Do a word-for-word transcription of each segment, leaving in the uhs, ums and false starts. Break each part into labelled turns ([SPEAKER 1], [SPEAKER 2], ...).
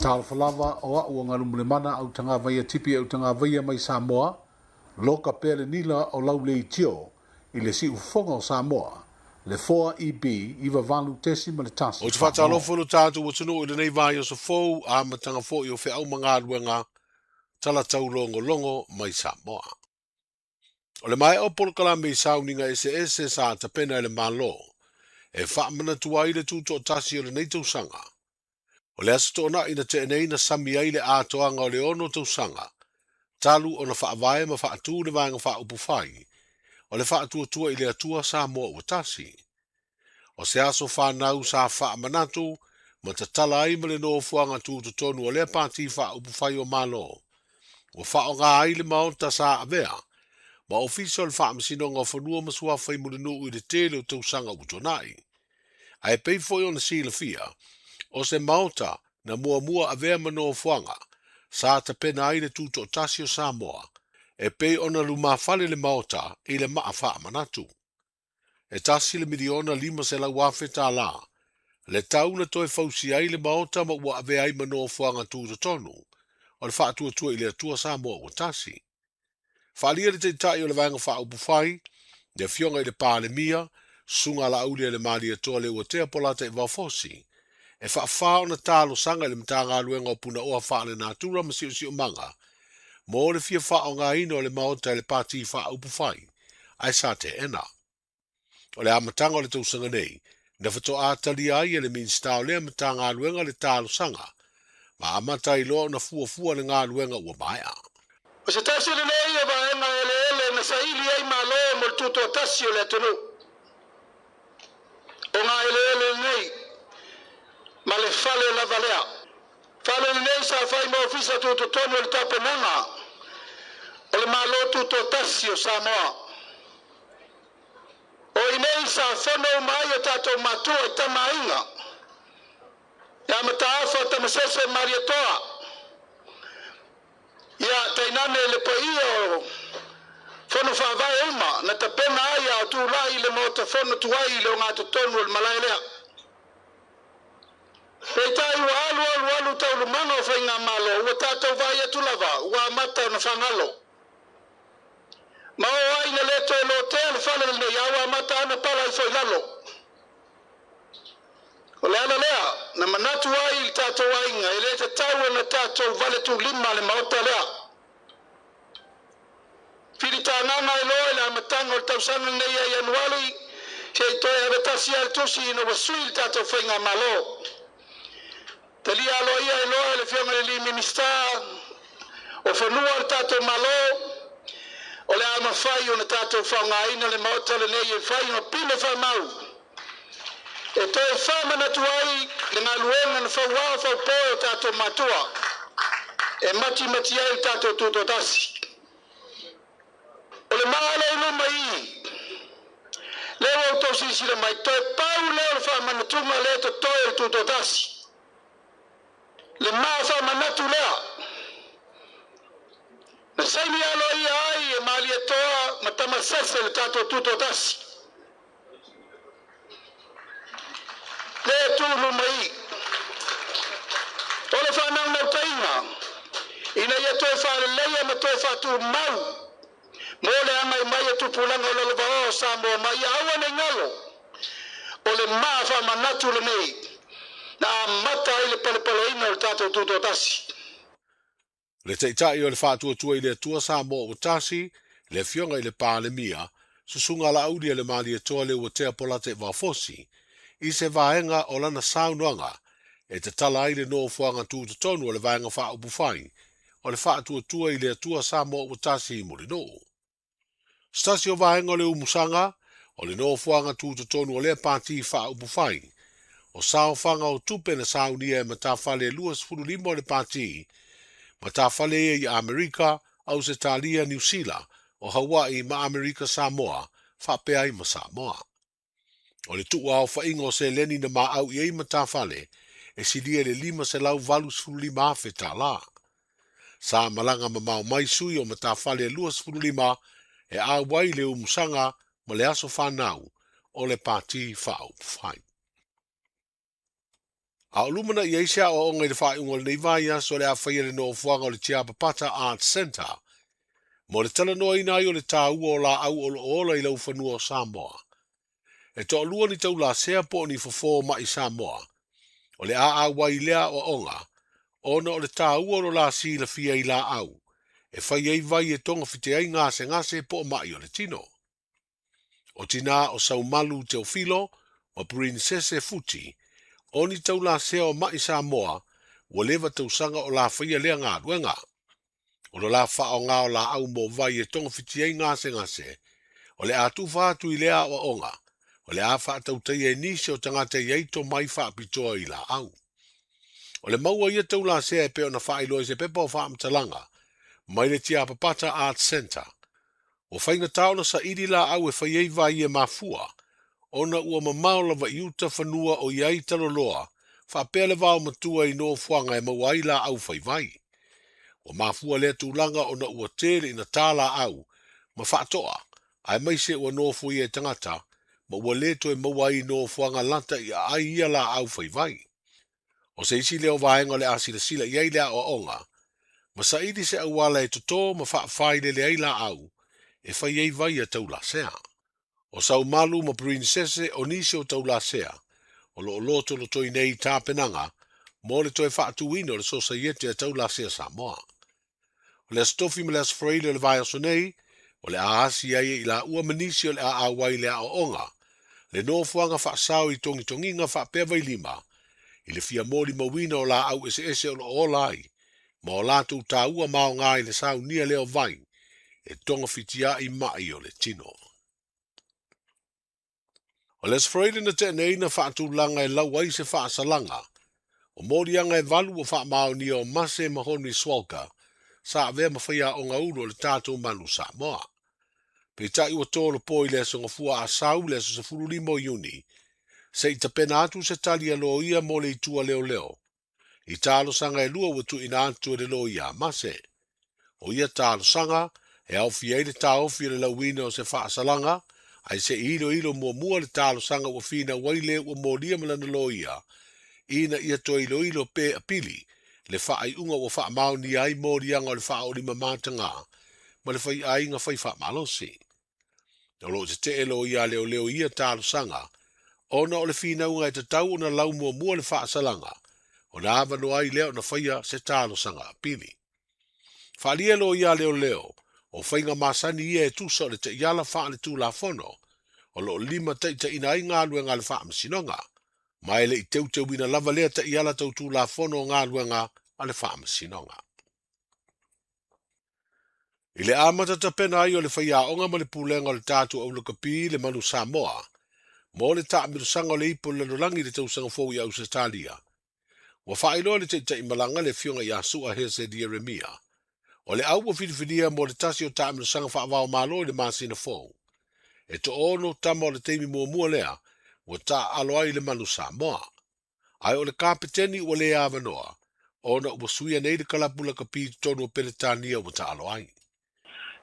[SPEAKER 1] Talofa o au o galumalemana au tagavaia tipi au tagavaia mai Samoa, loka pea le nila o lau leitio i le siufofoga o Samoa, le four E B iva valu tesi ma le tasi.
[SPEAKER 2] O te whaatalofo lo tātou atunuu i lenei vai o sofou a matanga foi o wheau mangaluenga tala taulongo longo mai Samoa. O le mai o polokalame i sauninga ese ese sa tapena i le malo, e whaamanatua i le tuto tasi o lenei tausanga. O le aso to'ona ina te nei na sami ai le atoaga o le ono tausaga, talu ona faavae ma faatu le vaega faaupufai, o le faatuatua i le Atua Samoa ua tasi. O se aso whanau sa faamanatu, ma tatala ai ma le nofoaga tutotonu o lea pati faaupufai o Malo. Ua faaaoga ai le maota sa avea, ma ofisa o le faamasinoga o fanua ma suafa i Mulinuu i le tele o tausaga ua tuanai. Ae pei foi ona silafia, o se maota na muamua avea ma nofoaga, sa tapena ai le tutoatasi o Samoa, e pei ona lumafale le maota i le maa faamanatu. E tasi le miliona lima selau afe tālā, le tau na toe fausi ai le maota ma ua avea ai ma nofoaga tutotonu, o le faatuatua i le Atua Samoa ua tasi. Faalia le taitai o le vaega faaupufai, le afioga i le Palemia, susuga Laauli a le Malietoa le Uatea Polata i Vaofosi, e faafā ona talosaga i le Matagaluega o Punaoa Faalenatura ma Siosiomaga, mo le fia faaaogaina o le maota e le pati faaupufai, ae sa teena. O le amataga o le tausaga nei, na faatoa talia ai e le Minisita o lea Matagaluega le talosaga, ma amata ai loa ona fuafua le galuega ua maea.
[SPEAKER 3] O se tasi lenei o vaega eleele na saili ai malo mo le tutoatasi o le atunuu. O ngā eleele lenei ma le fale lava lea. Fale lenei sa fai ma ofisa tutotonu o le tapenaga o le malo tutoatasi o Samoa. O inei sa fono uma ai o tatou matua i tamaaiga, ia Mataafa Tamasese Malietoa, ia tainane le paia o fono faavae uma na tapena ai a o tulai le maota fono tuai i le ogatotonu o le malae lea. Peitai ua alu alu alu taulumaga o faigamalo ua tatou vaai atu lava ua amata ona fagalo. Ma o ai na le toe lotea le fale lenei a ua amata ana pala ifo i lalo. O le ala lea na manatu ai i le tatou aiga e le tatau ona tatou vale tulima le maota lea. Filitagaga e loa i le amataga o le tausaga lenei ia Ianuari, se i toe avetasi ai le tusi ina ua sui le tatou faigamalo. Talia aloaia e loa e le afioga i le alii Minisita o fanua o le tatou Malo, o le a mafai ona tatou faaaogaina le maota lenei e fai ma pine faamau. E toe faamanatu ai le galuega na fauao faupoe o tatou matua, e matimati ai le tatou tutoatasi. O le maa lea i luma i, lea ua outou silasila mai, toe pau lea o le faamanatuga lea totoe o le tutoatasi. Le maa faamanatu lea, na saini aloaia ai e Malietoa ma Tamasese le tatou tutoatasi. Lea tu luma i. O le faanaunautai ina ia toe faaleleia ma toe faatumau mo le agai mai o tupulaga o lalovaoa o Samoa ma ia aua nei galo. O le maa faamanatu lenei na amata ai le palepaleina o le tatou tutoatasi.
[SPEAKER 2] Le taitai o le faatuatua i le Atua Samoa ua tasi, le afioga i le Palemia, susuga Laauli a le Malietoa le Uatea Polata i Vaofosi, i se vaega o lana saunoaga, e tatala ai le nofoaga tutotonu o le vaega faaupufai, o le faatuatua i le Atua Samoa ua tasi i Mulinuu. Se tasi o vaega o le umusaga, o le nofoaga tutotonu o lea pati faaupufai, o saofaga o tupe na saunia e matafale luasefulu lima o le pati, matafale ia i Amerika, Ausetalia, Niu Sila, o Hawaii ma Amerika Samoa, faapea ai ma Samoa. O le tuua aofaiga o seleni na maau i ai matafale, e silia i le lima selau valusefulu lima afe tālā. Sa malaga mamao mai sui o matafale luasefulu lima, e auai le umusaga ma le aso whanau o le pati faaupufai. A o lumana i ai se aoaoga i le faaiuga o lenei vaiaso le a faia le nofoaga o le Tiapapata Art Centre mo le talanoaina ai o le taua o laau o loo ola i laufanua o Samoa. E toalua ni taulasea po o ni fofo mai Samoa. O le a auai lea aoaoga ona o le taua o lo la silafia i laau e fai ai vai e togafiti ai gasegase po o mai o le tino. O tina o Saumalu Teofilo ma Princese Futi o ni taulasea o mai Samoa ua leva tausaga o la faia lea galuega. O lo la faaaoga o laau mo vai e togafiti ai gasegase o le a tufa atu i lea aoaoga o le a faatautaia e nisi o tagata i ai tomai faapitoa i laau. O le maua ia taulasea e pei ona faailoa i se pepa o faamatalaga mai le Tiapapata Art Centre. Ua faigata ona saili laau e fai ai vai e mafua ona ua mamao lava i uta fanua o i ai taloloa faapea le vao matua i nofoaga e maua ai laau faivai. Ua mafua lea tulaga ona ua tele ina tā laau ma faatoa aemaise ua nofoia e tagata ma ua le toe maua ai nofoaga lata i aai ia laau faivai. O se isi lea o vaega o le a silasila i ai le aoaoga ma saili se auala e totō ma faafailele ai laau e fai ai vai a taulasea. O Saumalu ma Princese o nisi o taulasea o loo lotolotoi nei tapenaga mo le toe faatuina o le Sosaiete a Taulasea Samoa. O le Aso Tofi ma le Aso Faraile o le vaiaso nei o le a asi ai i laua ma nisi o le a auai le aoaoga le nofoaga faasao i togitogiga faapea vailima i le fia molimauina o laau eseese o loo ola ai ma o latou taua maoga i le saunia lea o vai e togafitiai mai o le tino. O le Aso Faraile na tea na faatulaga e lau ai se faasalaga o moliaga e valu o faamaonia o Mase ma Henry Swalka sa avea ma faiaoga ulu o le tatou Manu Samoa. Peitai ua tolopo i le aso gafua Asau le aso sefululima o Iuni seʻi tapena atu se tali a loia mo le itua leoleo i talosaga e lua ua tuuina atu e le loia a Mase. O ia talosaga e aofia ai le taofi o le lauina o se faasalaga ae seʻi iloilo muamua le talosaga ua finau ai le ua molia ma lana loia ina ia toe iloilo pe apili le faaiuga ua faamaonia ai moliaga o le faaolima mataga ma le faiaiga fai faamalosi. O loo tetee loia leoleo ia talosaga ona o le finauga e tatau ona lau muamua le faasalaga ona avanoa ai lea ona faia se talosaga apili. Faalia loia leoleo o faiga masani ia e tusa o le taiala faaletulafono o loo lima taitaina ai galuega a le faamasinoga ma e leʻi teuteuina lava lea taiala tautulafono o galuega a le faamasinoga. I le amata tapena ai o le faiaoga ma le pulega o le tatou aulakapi le Manu Samoa mo le taamilosaga o le ipu o le lalolagi i le tausaga fou i Ausetalia. Ua faailoa le taitaimalaga le afioga ia Sua Hese Ieremia o le au ua filifilia mo le tasi o taamilosaga faavaomalo i le masina fou. E toono tama o le taimi muamua lea ua taaalo ai le Manu Samoa. Ae o le kapeteni ua le avanoa ona ua suia nei le kalapu lakapi i totonu o Peretania ua taalo ai.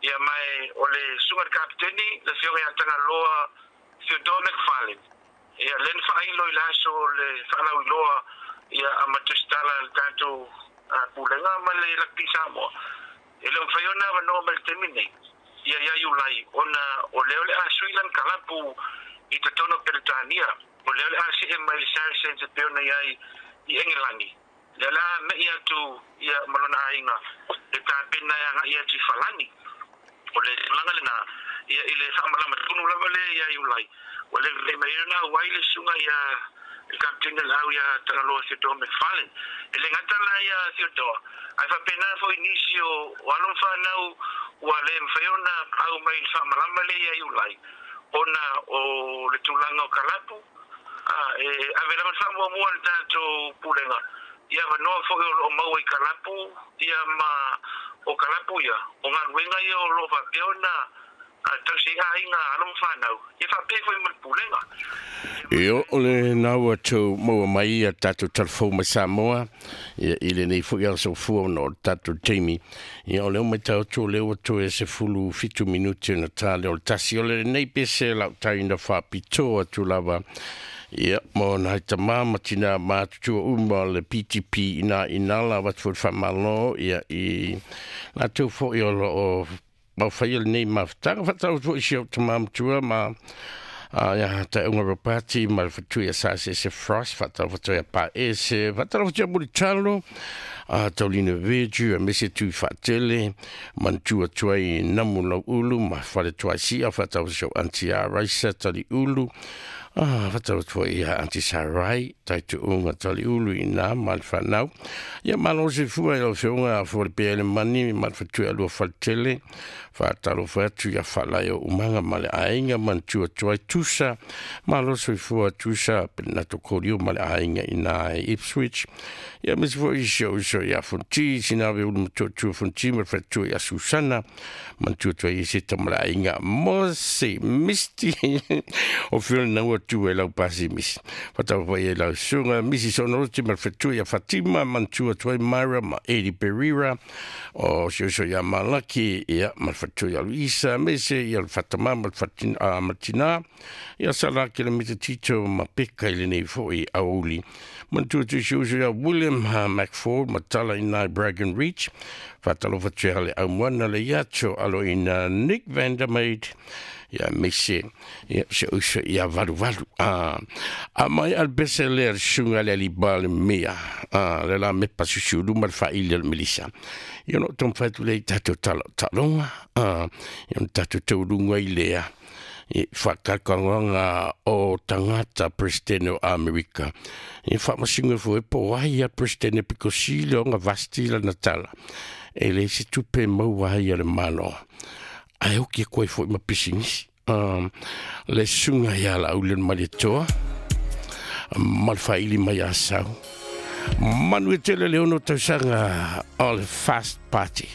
[SPEAKER 4] Ia mai o le suga le kapeteni le afioga ia Tagaloa Theodore McFarlane. Ia lena faailo i le aso le faalauiloa ia a matusitala le tatou pulega ma le lakapi Samoa. E le mafai ona avanoa mai le taimi nei ia ia Iulai ona o lea o le a sui lana kalapu i totonu o Peretania. O lea o le a see mai le Saracens e pei ona iai i Engelani. Lea la mei atu ia ma lona aiga le tapena e agai atu i Falani. O le tulaga lena ia i le faamalama tonu lava le ia Iulai. Ua le lelei mai ona auai le suga ia le kapeteni le au ia Tagaloa Theodore McFarlane. E le gata la ia Theodore ae faapena foi nisi o o alo ma fanau ua le mafai ona au mai i le faamalama le ia Iulai ona o le tulaga o kalapu e ave lava le faamuamua le tatou pulega ia avanoa foi o loo maua i kalapu ia ma o kalapu ia o galuega ia o loo faapea ona tausi aiga alo ma fanau ia faapea foi ma le pulega.
[SPEAKER 5] Io o le nau atu maua mai ia tatou talafou mai Samoa ia i lenei foi aso fua ona o le tatou taimi. Ia o lea ua matau atu o lea ua toe sefulu fitu minuti ona tā lea o le tasi. O lenei pese lau tai na faapitoa atu lava Ia mo nai tama ma tina matutua uma le P T P ina inala watu foi whamalo ia i lātou foi o lo o mauwhaia le nei mafutaga whatau foi si o tama matua ma ia ta unga ropati ma le whatui a sa se se frost whatau whatui a pa ese whatau whatui a muritalo a taulina veju a mese tui whaatele mantua tuai namu lau ulu ma whare tuai sia whatau so anti a raisa tali ulu. Ah, whatau tuai ia anti sarai tai tu unga tali ulu i nā ma le whanau. Ia malo se fua i lau whionga a fua le pea le mani ma le whatui alua whaletele whaatalo whatu ia whalai o umanga ma le ainga mantua tuai tusa malo se fua tusa penato korio ma le ainga i nā e Ipswich. Ia mese fua i sio iso ia fonti sinawe ulu matua tua fonti ma le whatua ia Susana mantua tuai i seta ma le ainga Mose Misti o whio naua tu e lau pasi misi. Whatau whai e lau sunga misi sonoroti ma le whatua ia Fatima mantua tuai Myra ma Eddie Pereira o sio iso ia Malaki ia ma le whatua ia Luisa mese ia le Fatama ma le Fatina Martina ia Salaki le mita Tito ma Peka i le nei foi auli. Mantua tu sio iso ia William McFord ma tala i nai Bragan Reach whatalo whatua le aumoana le iato alo ina Nick Vandermeid ia mese ia se uso ia valu valu a a mai al bese le sunga le libal mea a le la me pasu lu mal fa ile melisa ia no tom fa tu le tato talo talonga a ia tato tolunga ile a i whakakanganga o tangata president o Amerika. I whamasinga fo e po ai a president e pikosile o nga vasti la natala. E le se tupe maua ai a le malo. Ai oki e koe fo i ma pisinisi. Um, le sunga ia la ulen maletoa. Malfaili mai a sau. Manu e tele le ono tausanga o le fast party.